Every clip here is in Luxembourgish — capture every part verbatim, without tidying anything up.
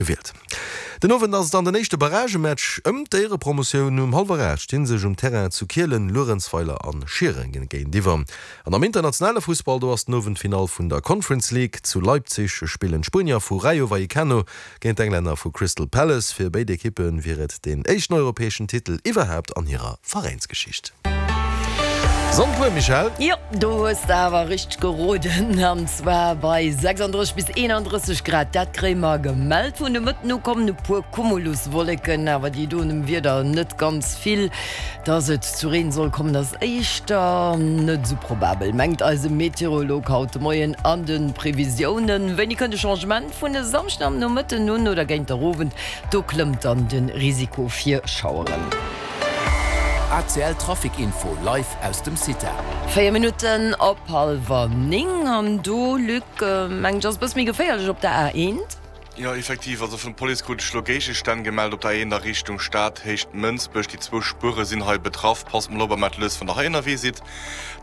Gewielt. Den Owend ass et dann den éischte Barragematch ëm d'Éierepromotioun. Um hallwer aacht sti sech um Terrain zu Kielen Luerenzweiler a Schieren géintiwwer. An am internationale Fussball, do ass den Owend d'Finall vun der Conference League. Zu Leipzig spillen d'Spuenier vu Rayo Vallecano géint d'Englänner vu Crystal Palace. Fir béid Ekippe wier et deen éischten europäeschen Titel iwwerhaapt an hirer Veräinsgeschicht. Sonndpuer, Michèle? Jo, do hues de awer richteg geroden, an zwar bei sechsunddrësseg bis eenanddrësseg Grad. Dat kréie mer gemellt. Vun de Mëtten u kommen e puer Cumuluswolleken, awer déi doen dem Wieder net ganz vill. Dass et zu Reen soll kommen, ass éischter net esou probabel, mengt eise Meteorolog haut de Moien an de Previsiounen. Wéini kënnt de Changement? Vun e Samschden am Nomëtten un oder géint der Owend, do klëmmt dann de Risiko fir Schaueren. A C L Trafic Info live aus dem Cita. Véier Minutten op hallwer néng an do, Luc, mengen ech, ass e bësse méi geféierlech op der A eent. Jo, effektiv, also vun Police krut ech lo Géigestänn gemellt op der A eent a Richtung Stad, Héicht Mënsbech. Déi zwou Spuere sinn hei betraff. Passt mol op a maacht lues, wann der hei ënnerwee sidd.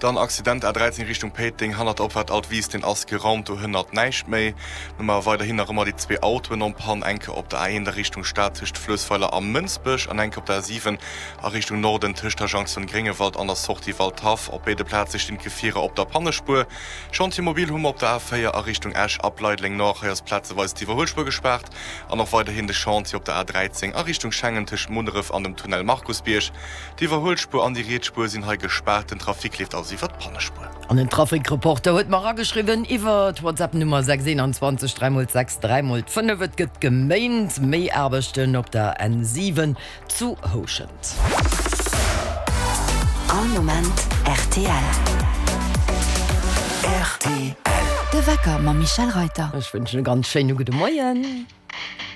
Dann Accident A dräizéng Richtung Péiteng, hannert der Opfaart Altwies, deen ass geraumt, do hënnert näischt méi. Dann hu mer weiderhin nach ëmmer déi zwee Autoen en panne, eng Kéier op der A eent a Richtung Stad tëscht Fluessweiler a Mënsbech an eng Kéier op der A siwen a Richtung Norden tëscht der Jonction Gréngewald an der Sortie Waldhaff. Op béide Plaze stinn d'Gefierer op der Pannespuer. Chantier mobile hu mer op der A véier a Richtung Esch ab Leideleng Nord, hei ass plazeweis d'Iwwerhuelspuer gespaart. An och weiderhin de Chantier op der A dräizéng a Richtung Schengen tëscht Munneref an dem Tunnel Markusbierg. D'Iwwerhuelspuer an déi riets Spuer sinn hei gespaart, den Trafic leeft also iwwer d'Pannespuer. An den Trafic-Reporter huet mer erageschriwwen iwwer d'WhatsApp-Nummer sechs eenanzwanzeg dräi mol sechs dräi mol fënnef, Et gëtt geméint, méi Aarbechten op der N siwen zu Houschent. All Moment rtl. Rtl. De Wecker mam Michèle Reyter. Ech wënschen e ganz schéine gudde Moien.